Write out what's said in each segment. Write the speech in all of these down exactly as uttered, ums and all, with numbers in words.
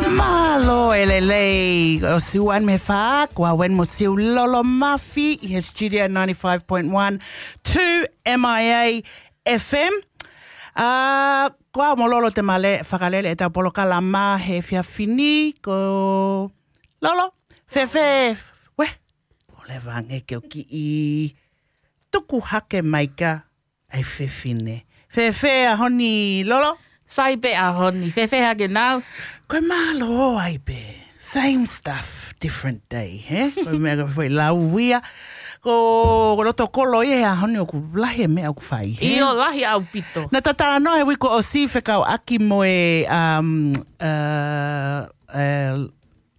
Mālō e lelei, ʻo Siuan me fa, ko au eni mo Siu Lolo Mafi, ʻi he Studio ninety-five point one two M I A F M. ʻA, ko au mo Lolo te ma fakalele ʻetau polokalama he efiafi ni, ko Lolo, fēfē, we, ʻo leva ange ke u kiʻi tuku hake mai ka ʻai fefine. Fēfē ʻaho ni, Lolo? Sai pē ʻaho ni, fēfē hake nau? Ko e mālō ai pē. Same stuff, different day, he? Ko e meʻa ka fai lau ia. Ko, ko loto kolo ia he ʻaho ni ʻoku lahi e meʻa ʻoku fai, he? ʻIo, lahi ʻaupito. Naʻa ta talanoa he uike kuo ʻosi fekauʻaki mo e, um, uh, uh,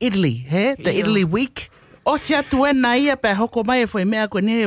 Italy, he? The ʻIo. Italy Week. ʻOsi atu ena ia pea hoko mai e foʻi meʻa ko eni he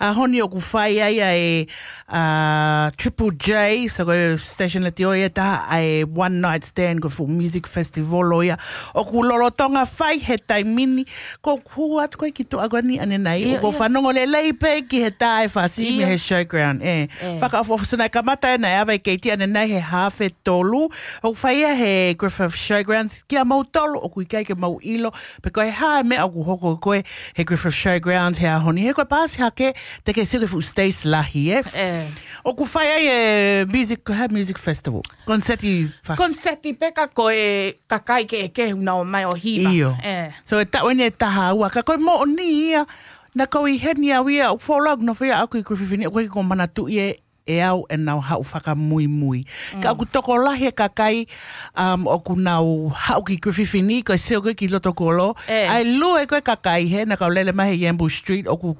ʻaho ni ʻoku fai ai ʻa e, uh, Triple J, so ko e station letiō ia ʻe taha ʻa e one night stand ko e full music festival ʻo ia. ʻOku lolotonga fai he taimi ni, ko e hū atu ko ē ki tuʻa ko eni ʻanenai. ʻIo, ʻOku ʻio. Fanongo lelei pē ki he tā e fasi mei ʻIo. He showground, ē. ʻE. Fakaʻofoʻofa sona e kamata ena e ava e keiti ʻanenai he haafe tolu. ʻOku fai ia he Griffith Showgrounds. Kia moutolu ʻoku ʻikai ke mou ʻilo pe ko e hā e meʻa ʻoku hoko ko ē he Griffith Showgrounds he ʻaho ni. He ko e paasi hake te ke sio ki he fuʻu stage lahi, ē? ʻE. ʻOku fai ai e music, ko e hā e music festival? Konseti fasi. Konseti pē ka ko e kakai kehekehe ʻoku nau ō mai ʻo hiva. ʻIo. ʻE. So e taʻu eni ʻe taha ua, ka ko e moʻoni ia, naʻa ku ʻi heni au ia, ʻoku folau nofo ia ʻaʻaku ʻi Griffith ni, ʻoku ʻikai ke u manatuʻi ʻe ʻe au ʻenau haʻu fakamuimui. Mm. Ka ʻoku tokolahi e kakai, um, ʻoku nau haʻu ki Griffith ni, ko e sio ko ē ki loto kolo. ʻE. ʻA e lue ko ē kakai he, naʻa ku lele mai he Yambu Street, ʻoku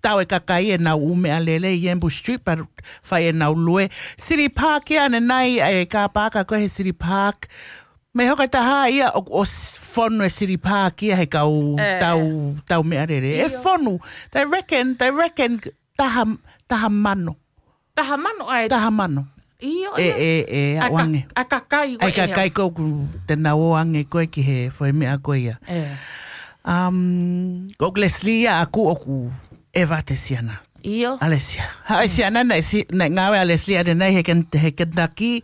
tau e kakai ʻenau ʻū meʻalele ʻi Yambu Street, pea fai ʻenau lue. City Park ia ʻanenai, ʻa e kā paaka ko ē he City Park. Mei hoko e taha ia ʻoku ʻosi fonu e City Park ia he kau ʻE. Tau, tau meʻalele. ʻE ʻIo. Fonu. They reckon, they reckon taha, taha mano. Taha mano ʻa e Taha mano. ʻIo, ʻE, ʻio. ʻE, ʻe, ʻA ʻaʻu ka-, ange. ʻA kakai ko ʻAi ē, kakai ʻe. Ko ē ʻoku te nau ō ange ko ē ki he foʻi meʻa ko ia. ʻE. Um, ko Leslie ia ʻaʻaku ʻoku ʻeva te siana. ʻIo. ʻAle sia. Ha, ʻe siana naʻe si-, naʻe ngāue ʻa Leslie ʻanenai he Ken-, he Kentucky.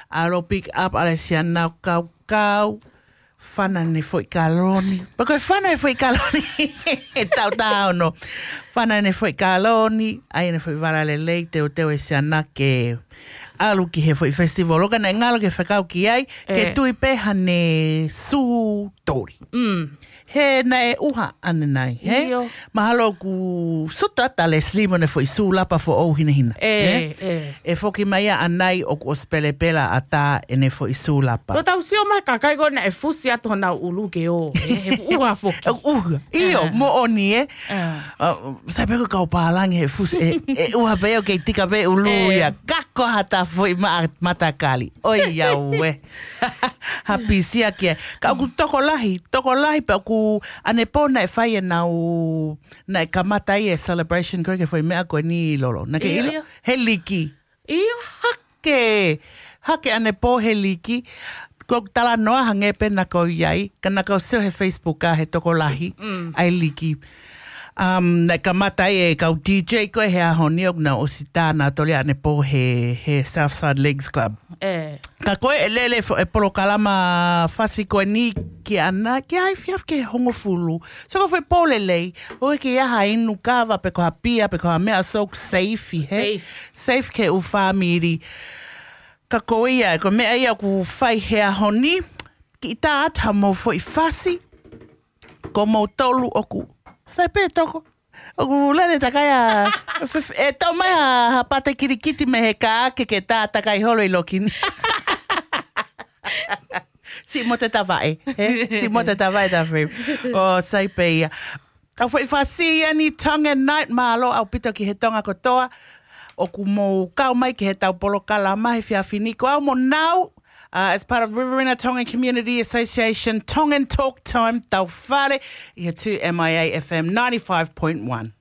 ʻAlu pick up ʻa Leslie ʻanenai kau kau. Fana ne foʻi kaloni. Pea ko e fana e foʻi kaloni. ʻE taʻu taha ono. Fana ne foʻi kaloni. ʻAi ne foʻi vala lelei, teuteu e siana ke ʻalu ki he foʻi festival. ʻOka naʻe ngalo ke fekau ki ai, ke ʻE. Tui pē haʻane sū toli. Mm. He naʻe ʻuha ʻanenai, he? ʻIo. Mahalo ʻoku suta atu ʻa Leslie mo ʻene foʻi sū lapa foʻou hinehina, ʻE, he? ʻE. ʻE foki mai ia ʻanai ʻoku ʻosi pelepela ʻatā ʻene foʻi sū lapa. Ko tau sio mai kakai ko ē naʻe fusi atu honau ʻulu ke ō, ʻe, he ʻuha foki. ʻUha. ʻIo, ʻE. Moʻoni, ē? ʻE. ʻA, sai pē ko e kau pālangi he fusi, ʻe, ʻe ʻuha pē ʻo kei tika pē ʻulu ʻE. Ia. Kako ha tā foʻi ma-, matakali. ʻOiauē. Ha pisia kia. Ka ʻoku tokolahi, tokolahi pē ʻoku ʻanepō naʻe fai ʻenau, naʻe kamata ai e celebration ko ē ki he foʻi meʻa ko eni Lolo. Naʻa ke ʻIo, ʻilo? ʻIo. He liki. ʻIo. Hake, hake ʻanepō he liki. Ko e talanoa hangē pē naʻa ku ʻi ai, ka naʻa ku sio he Facebook ʻa he tokolahi, Mm. ʻa e liki. Um, naʻe kamata ai e kau D J ko ē he ʻaho ni ʻoku nau ʻosi tā nautolu ia ʻanepō he, he Southside Leagues Club. ʻE. Ka ko e lele fo-, e polokalama fasi ko eni ki ʻana, ki ai fiaf ke hongofulu. So ko e foʻi pō lelei, ʻoku ʻikai ha inu kava pe ko ha pia, pe ko ha meʻa, so safe, he? Safe. Safe ki he ʻū fāmili. Ka ko ia, ko e meʻa ia ʻoku fai he ʻaho ni, kiʻi tā atu hamou foʻi fasi, ko moutolu ʻoku. Sai pē toko. ʻOku lele takai ʻa, f-, f-, ʻe tau mai ha, ha pate kilikiti mei he kā ke ke tā takai holo ʻi loki ni. Siʻi mote tavaʻe, he? Siʻi mote tavaʻe tā frame. ʻO, sai pē ia. Ka foʻi fasi eni Tongan Night, mālō ʻaupito ki he Tonga kotoa. ʻOku mou kau mai ki heʻetau polokalama he efiafi ni. Ko au mo Nau, uh, as part of Riverina Tongan Community Association, Tongan Talk Time, tau fale ʻi he two M I A F M ninety-five point one.